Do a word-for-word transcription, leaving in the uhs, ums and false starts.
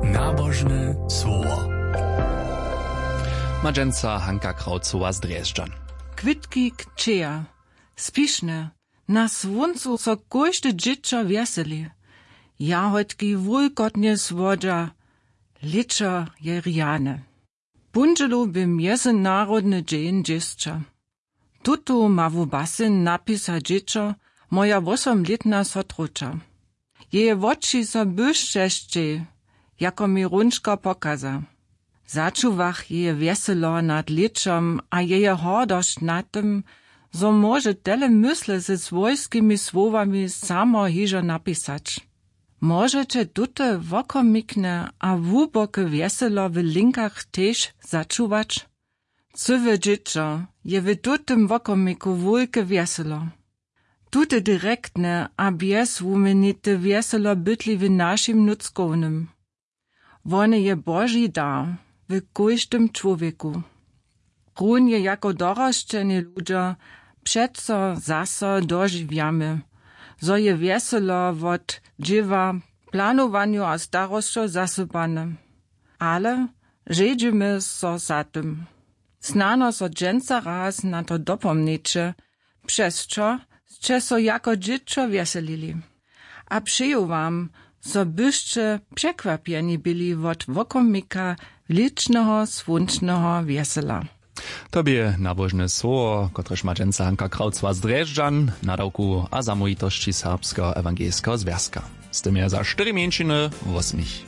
Nabožne słowo. Ma dźensa Hanka Krawcowa z Drježdźan. Kwětki kćeja, spišne, na słóncu so kóžde dźěćo wjeseli. Jahodki wulkotnje słodźa. Lěćo je rjane. Póndźelu bě mjezynarodny dźeń dźěsća. Tutu ma wu basen napisa dźěćo, moja wósomlětna sotrowča. Jeje woči so błyšćešćej, jako mi hrónčka pokaza. Začuwach jeje wjeselo nad lěćom a jeje hordosć nad tym, zo móže tele mysle ze swójskimi słowami samo hižo napisać. Móžeće tute wokomikne a hłuboke wjeselo w linkach tež začuwać? Cyłe dźěćo je w tutym wokomiku wulke wjeselo. Tute direktne a bjezwuměnite wjeselo bytli w našim nutřkownym. Wone je boži dar w kóždym čłowjeku. Runje jako dorosćeni ludźo přeco zaso dožiwjamy, zo je wjeselo wot dźěła, planowanju a starosćow zasypane. Ale žedźimy so za tym. Snano so dźensa raz na to dopomnjeće, přez čo sće so jako dźěćo wjeselili. A přeju wam, zo byšće překwapjeni byli wot wokomika ličneho słónčneho wjesela. To bě nabožne słowo, kotrež ma dźensa Hanka Krawcowa z Drježdźan, nadawku a zamołwitosći Serbskeho ewangelskeho zwjazka. Z tym je za štyri mjeńšiny wosmich.